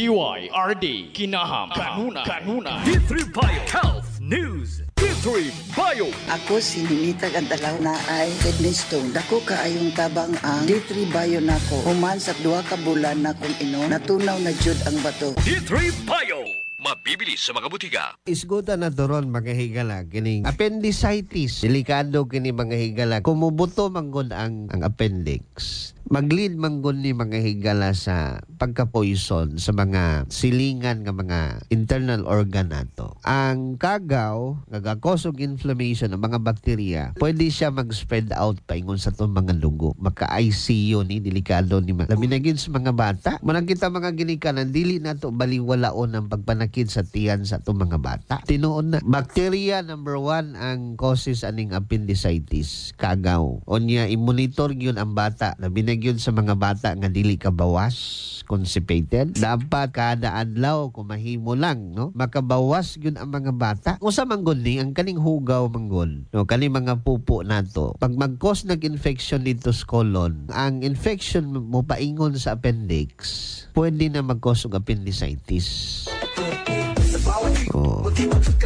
DYRD Kinaham Kanuna Kanuna. D3 Bio Health News. D3 Bio. Ako si Ninita Gantalaw na ay kidney stone. Dako kaayong tabang ang D3 Bio nako. Human sa 2 ka bulan na kong inom, natunaw na jud ang bato. D3 Bio. Mabibili sa mga butika. Isgutan na doron, mga higala, kining appendicitis. Delikado kini, mga higala. Kumubuto manggod ang appendix, mag-lead manggod ni, mga higala, sa pagka-poison sa mga silingan nga mga internal organ nato. Ang kagaw nga ga-cause og inflammation ng mga bakterya, pwede siya mag-spread out paingon sa atong mga dugo. Maka-ICU ni, delikado ni. Labi na gyud sa mga bata. Manang kita, mga ginikanan, dili nato baliwalaon ang pagpanakit sa tiyan sa atong mga bata. Tinuod na. Bacteria number one ang causes aning appendicitis, kagaw. Unya, i-monitor gyud ang bata. Labi na gyud sa mga bata nga dili ka bawas, constipated. Dapat kada adlaw, kung mahimo lang, no, makabawas gyud ang mga bata. Usa man gud ni ang kaning hugaw man gud, no, kaning mga pupo nato. Pag mag-cause nag-infection dito sa colon, ang infection mo paingon sa appendix, pwede na mag-cause og appendicitis. Oh.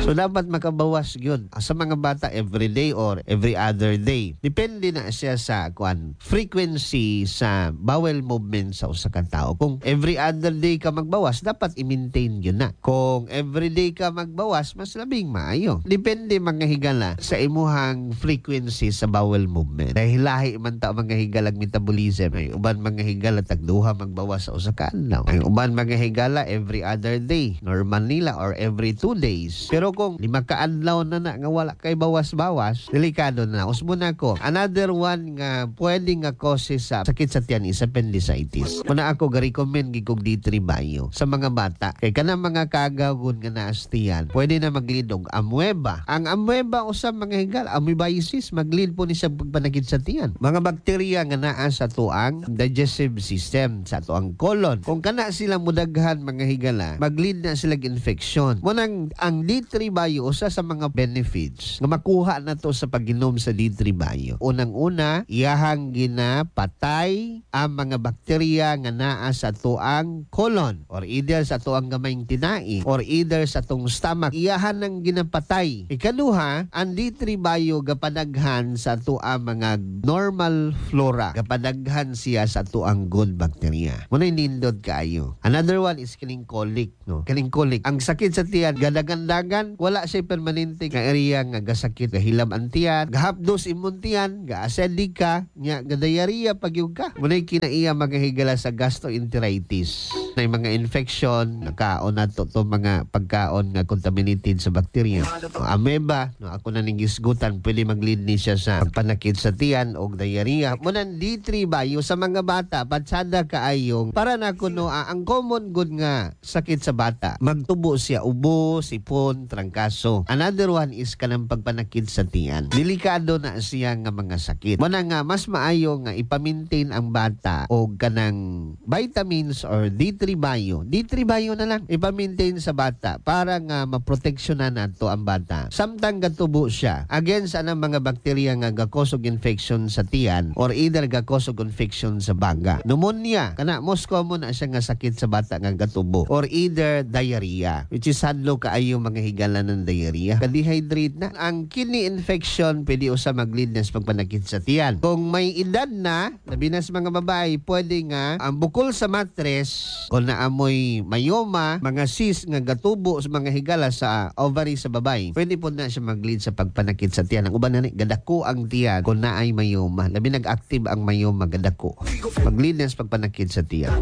So dapat makabawas yun sa mga bata every day or every other day. Depende na siya sa kuan, frequency sa bowel movement sa usa ka tawo. Kung every other day ka magbawas, dapat i-maintain yun na. Kung every day ka magbawas, mas labing maayo. Depende, mga higala, sa imuhang frequency sa bowel movement. Dahil lahi man ta, mga higala, metabolism. Ay uban, mga higala, tagduha magbawas sa usa ka adlaw. Ang uban, mga higala, every other day. Normal nila or every 2 days. Pero kung 5 ka adlaw na na nga wala kay bawas-bawas, delikado na. Usbo na ko. Another one nga pwede nga causes sa sakit sa tiyan is appendicitis. Muna ako ga-recommend gid kog D3 Bio sa mga bata. Kay kanang mga kagaw nga naa sa tiyan, pwede na mag-lead og amoeba. Ang amoeba usa, mga higala, amoebiasis, mag-lead po ni sa pagpanakit sa tiyan. Mga bakterya nga naa sa tuang digestive system, sa tuang colon. Kung kana sila mudaghan, mga higala, mag-lead na sila infection. Munang ang D3 Bio, usa sa mga benefits nga makuha na to sa pag-inom sa D3 Bio. Unang-una, iyahang ginapatay ang mga bakterya nga naa sa tuang colon or either sa tuang gamayng tinai or either sa tong stomach. Iyahan ang ginapatay. Ikaduha, ang D3 Bio gapadaghan sa tuang mga normal flora. Gapadaghan siya sa tuang good bacteria. Muna nindot kaayo. Another one is kining colic, no? Kining colic. Ang sakit sa tiyan, gadagan-dagan, wala siya permanente nga area nga gasakit, gahilam ang tiyan, gahapdos imong tiyan, ga-acidic ka, nya gadiarrhea pagyud ka. Muna kinaiya, mga higala, sa gastroenteritis. Na mga infection, nakaon na to, to mga pagkaon nga contaminated sa bacteria. O, amoeba, no, ako na ning gisgutan, pwede mag-lead ni siya sa pagpanakit sa tiyan o diarrhea. Muna D3 Bio sa mga bata, patsada kaayong para na kuno ang common good nga sakit sa bata. Magtubo siya ubo, sipon, trangkaso. Another one is kanang pagpanakit sa tiyan. Delikado na siya nga mga sakit. Muna nga mas maayo nga ipa-maintain ang bata og kanang vitamins or D3 Bio. D3 Bio na lang ipa-maintain sa bata para nga maproteksyonan nato ang bata. Samtang gatubo siya against anang mga bakterya nga ga-cause og infection sa tiyan or either ga-cause og infection sa baga. Pneumonia, kana most common na siya nga sakit sa bata nga gatubo or either diarrhea, which is hadlo kaayo, mga higala, ng diarrhea. Ka-dehydrate na. Ang kidney infection pwede usa mag-lead na sa pagpanakit sa tiyan. Kung may edad na, labi na sa mga babae, pwede nga ang bukol sa matres, kung naamoy myoma, mga cyst nga gatubo sa mga higala sa ovary sa babae, pwede po na siya mag-lead sa pagpanakit sa tiyan. Ang uban na ni, gadako ang tiyan kung naay myoma. Labi nag-active ang myoma, gadako. Mag-lead na sa pagpanakit sa tiyan.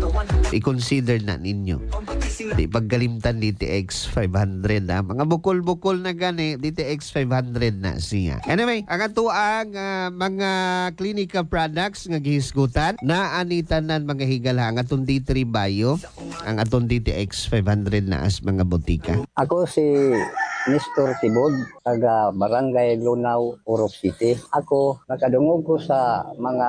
I-consider na ninyo. Di pagkalimtan DTX 500 ha. Mga bukol-bukol na gani, DTX 500 na siya. Anyway, ang ato ang mga clinical products nga gihisgutan na anitanan, mga higala, ang atong D3 Bio, ang atong DTX 500 na as mga botika. Ako si Nestor Tibod. Taga Barangay Lunao, Purok City. Ako, nakadungog ko sa mga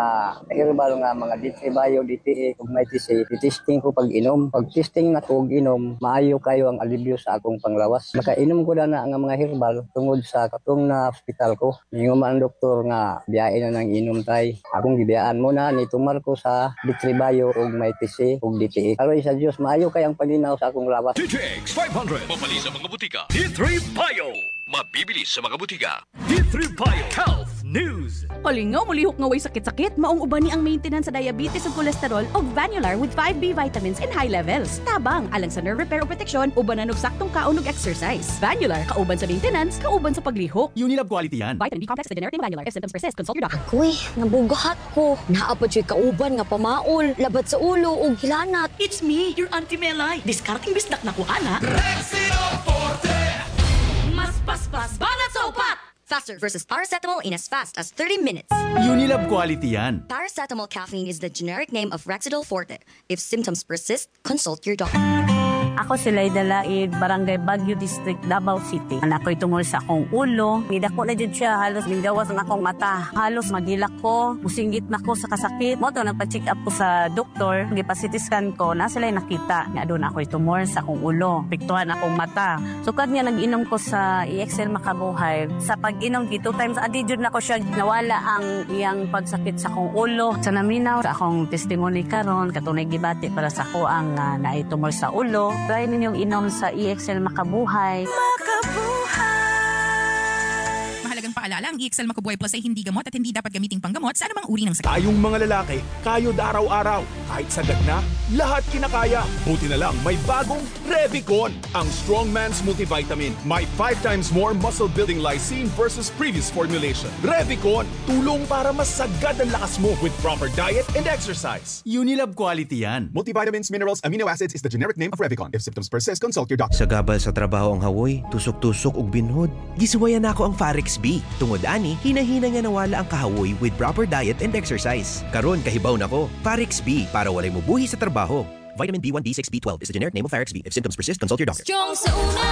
herbal nga mga D3 Bio, DTA, ug Mighty C. Testing ko pag inom. Pag testing na ko og inom, maayo kayo ang alibyo sa akong panglawas. Makainom ko na na nga mga herbal tungod sa katong na hospital ko. Ningon man ang doktor nga biyain na nang inom tay. Akong gibiyaan mo na nitumar ko sa D3 Bio ug Mighty C ug DTA. Aroy sa Dios, maayo kay ang paglinaw sa akong lawas. DTX 500. Mabali sa mga butika. D3 Bio. Mabibili sa mga butika. D3 Bio Health News. Palingaw, mulihok nga way sakit-sakit. Maong uban ni ang maintenance sa diabetes ug kolesterol og Vanular with 5B vitamins in high levels. Tabang alang sa nerve repair o protection, ubanan og saktong kaon ug exercise. Vanular, kauban sa maintenance, kauban sa paglihok. Unilab quality yan. Vitamin B complex, the generic name of Vanular. If symptoms persist, consult your doctor. Kuy, nabugahat ko. Naa pa juy kauban nga pamaol, labad sa ulo ug hilanat. It's me, your Auntie Melay. Diskarting bisdak na ko, ana. Mas paspas banat sa upat! Faster versus paracetamol in as fast as 30 minutes. Unilab quality yan. Paracetamol caffeine is the generic name of Rexidol Forte. If symptoms persist, consult your doctor. Ako si Laida Laid, Barangay Baguio District, Davao City. Anak ko'y tungol sa akong ulo. Nidako na jud siya, halos minggawas ang akong mata. Halos magilak ko, musinggit na ko sa kasakit. Mao to nagpa-check up ko sa doktor, gipa-CT scan ko, na sila nakita nga doon ako'y tumor sa akong ulo. Piktuhan akong mata. Sukad nga nag-inom ko sa EXL Makabuhay. Sa pag-inom, two times a day jud na ko siya, nawala ang iyang pagsakit sa akong ulo. Sa naminaw, sa akong testimony karon, katunay gibati para sa ako ang naay tumor sa ulo. Try ninyong inom sa EXL Makabuhay. Mahalagang paalala, ang EXL Makabuhay Plus ay hindi gamot at hindi dapat gamiting panggamot sa anumang uri ng sakit. Tayong mga lalaki, kayod araw-araw. Kahit sagad na, lahat kinakaya. Buti na lang may bagong Revicon, ang strong man's multivitamin. May 5 times more muscle-building lysine versus previous formulation. Revicon, tulong para mas sagad ang lakas mo with proper diet and exercise. Unilab quality yan. Multivitamins, minerals, amino acids is the generic name of Revicon. If symptoms persist, consult your doctor. Sa gabal sa trabaho ang hawoy, tusok-tusok ug binhod. Gisuwayan nako ang Farex B. Tungod ani, hinahina nga nawala ang kahawoy with proper diet and exercise. Karon kahibaw nako, Farex B para walay mubuhi sa trabaho. Vitamin B1, B6, B12 is the generic name of Farex B. If symptoms persist, consult your doctor. Strong sa una,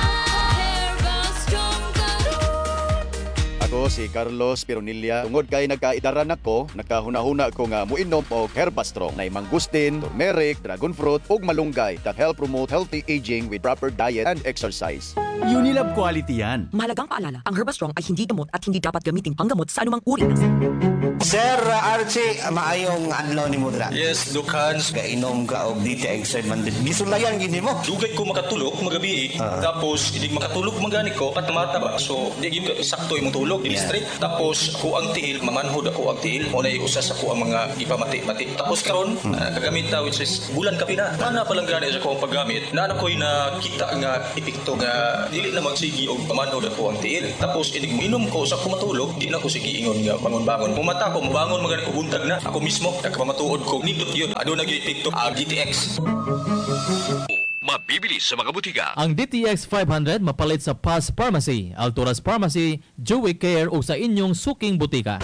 Strong. Ako si Carlos Pironilla. Tungod kay nagkaidaran ako, nakahuna-huna ko nga muinom og Herbastrong. Nay mangustin, turmeric, dragon fruit ug malunggay that help promote healthy aging with proper diet and exercise. Unilab quality yan. Mahalagang paalala, ang Herbastrong ay hindi gamot at hindi dapat gamiting panggamot sa anumang uri ng Sir Archie, maayong adlaw nimo dira. Yes, Dukans. Gainom ka og DTX 700. Gisulayan gini mo. Dugay ko makatulog magabi. Tapos inig makatulog man gani ko patamata ba. So di gyud ka sakto imong tulog, dili straight. Tapos ako ang tiil, mamanhod ako ang tiil. Mo na usa sa ko ang mga gipamati-mati. Tapos karon kagamit ta which is bulan ka pina. Mana pa lang gani sa ko ang paggamit. Naa na ko'y nakita nga epekto nga dili na magsigi og pamanhod ako ang tiil. Tapos inig minom ko sa ko matulog, di na ko sige ingon nga bangon-bangon. Mumata ko, mabangon man gani ko buntag na. Ako mismo nagpamatuod ko nindot yun. Aduna gyud epekto ang GTX. Mabibili sa mga butika. Ang DTX 500 mapalit sa Paz Pharmacy, Alturas Pharmacy, Joey Care o sa inyong suking butika.